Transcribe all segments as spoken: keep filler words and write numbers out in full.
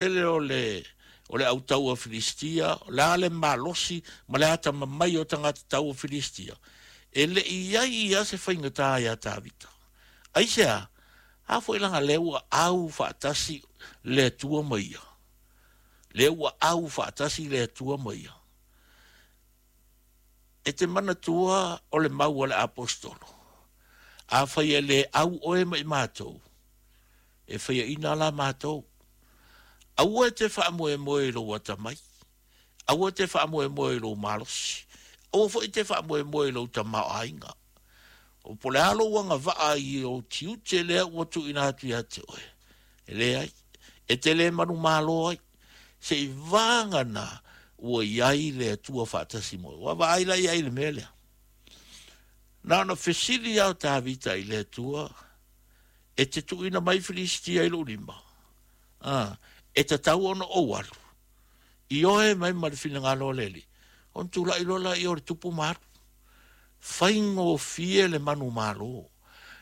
Tele o le o le autaua Filistia, o le a le malosi ma le atamamai o tagata taua Filistia, e le i i ai ia se faigata ia Tavita. Aisea? A foi laga lea ua au faatasi le Atua ma ia. Lea ua au faatasi le Atua ma ia. E te manatua o le mau a le apostolo, afai e le au oe ma i matou, e faiaina la matou. Aua e te faamoemoe i lou atamai, aua e te faamoemoe i lou malosi, aua foi e te faamoemoe i lou tamaoaiga. O po o le a lou agavaa i ou tiute lea ua tuuina atu ia te oe, e leai, e te le manumalo ai, seiavagana ua i ai le Atua faatasi ma oe. Ua vaai la i ai i le mea lea. Na ona fesili lava o Tavita i le Atua, e te tuuina mai Filistia i lou lima, a, e tatau ona ou alu. Ioe mai ma le finagalo o le Alii, ona tulai loa lea o le tupu ma alu. Faigofie le manumalo.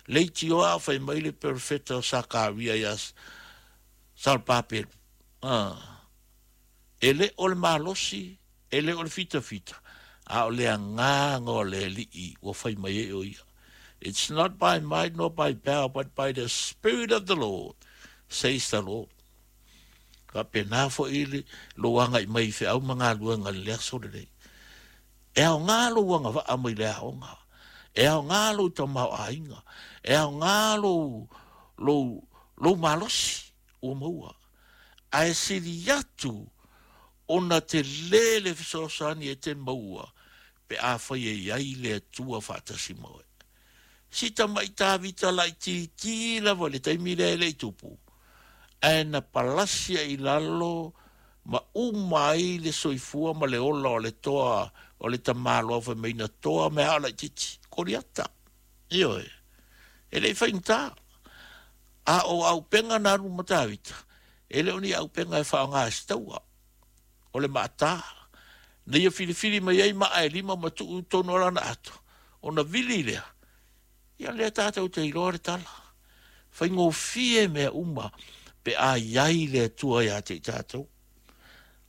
Leitioa a fai mai le perofeta o Sakaria ia Salpapelu. A, e le o le malosi, e le o le fitafita, a o le agaga o le Alii ua fai mai ai o ia. It's not by might nor by power, but by the Spirit of the Lord, says the Lord. Faapena foi le lou agai mai i feau ma galuega i le aso lenei. E aoga lou agavaa mai le aoga. E aoga lou tamaoaiga. E aoga lou, lou, lou malosi ua maua. Ae sili atu ona tele le fesoasoani e te maua pe afai e i ai le Atua faatasi ma oe. Si tamai Tavita laitiiti lava i le taimi lea e le i tupu, ae na palasia i lalo ma uma ai le soifua ma le ola o le toa o le tamaloa fai mai na toa mea a o laitiiti, Koliata. Ioe, e le i faigata. A o auupega na alu ma Tavita, e le o ni auupega e faaaoga e se taua. O le maata, na ia filifili mai ai maa e lima ma tuu i totonu o lana ato, ona vili lea. Ia lea tatou te iloa le tala. Faigofie mea uma pe a i ai le Atua ia te i tatou.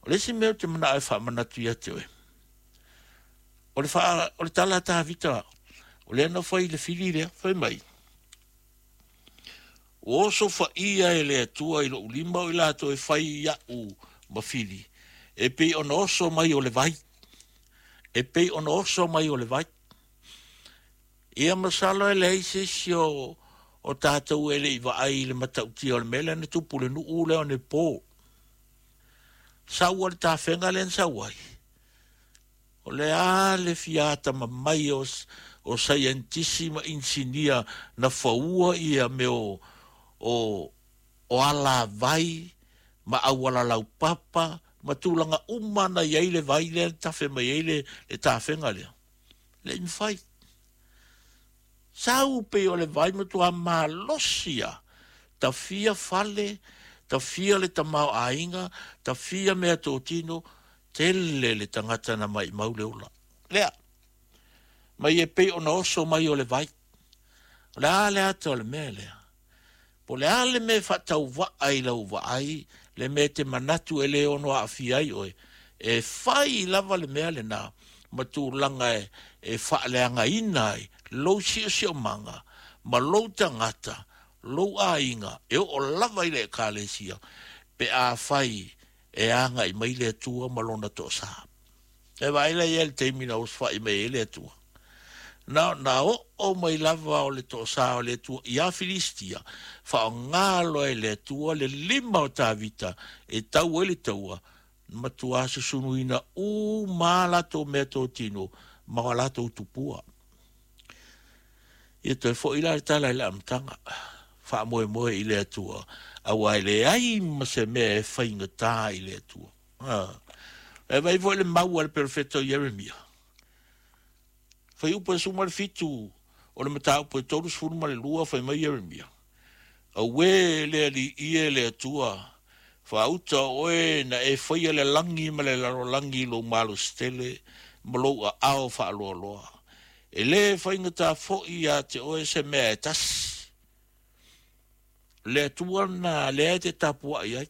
O le isi mea ou te manao e faamanatu ia te oe, o le, faa, o le tala a Tavita, o lea na fai i le fili lea, fai mai, ua osofaia e le Atua i lou lima o i latou e fai iaʻu ma fili, e pei ona oso mai o le vai. E pei ona oso mai o le vai. Ia masalo e leai se isi o, o tatou e le i vaai i le matautia o le mea lea na tupu i le nuu lea o Nepo. Sau le tafega lea na sau ai. O le a le fia atamamai o, o saienitisi ma inisinia na faua ia mea o, o, o alavai ma auala laupapa ma tulaga uma na i ai le vai lea na tafe mai ai le, le tafega lea. Le i mafai. Sau pei o le vai matua malosi lava. Tafia fale, tafia le tamaoaiga, tafia meatotino, tele le tagata na maimau le ola. Lea, mai e pei ona oso mai o le vai. O le a le ata o le mea lea? Po o le a le mea e faatauvaa i lau vaai, le mea e te manatu e le ono aafia ai oe, e fai lava le mea lena ma tulaga e, e faaleagaina ai lou siosiomaga ma lou tagata, lou aiga, e oo lava i le ekalesia, pe afai e agai mai le Atua ma lona toasa. E vaai la i ai le taimi na osofai mai ai le Atua. Na, na oo mai lava o le toasa o le Atua ia Filistia, faaaoga loa e le Atua le lima o Tavita e tau ai le taua, matua susunuina uma a latou meatotino ma o latou tupua. Ia toe foi la le tala i le amataga, faamoemoe i le Atua, aua e leai ma se mea e faigata i le Atua. Ah. E vaai foi le mau a le perofeta o Ieremia. Fuaiupu e sefulu ma le fitu o le mataupu e tolusefulu ma le lua, fai mai Ieremia, Auē le Alii e le Atua, faauta o oe na e faia le lagi ma le lalolagi i lou malosi tele ma lou aao faaloaloa. E le faigata foi ia te oe se mea e tasi. Le Atua lena lea e te tapuai ai.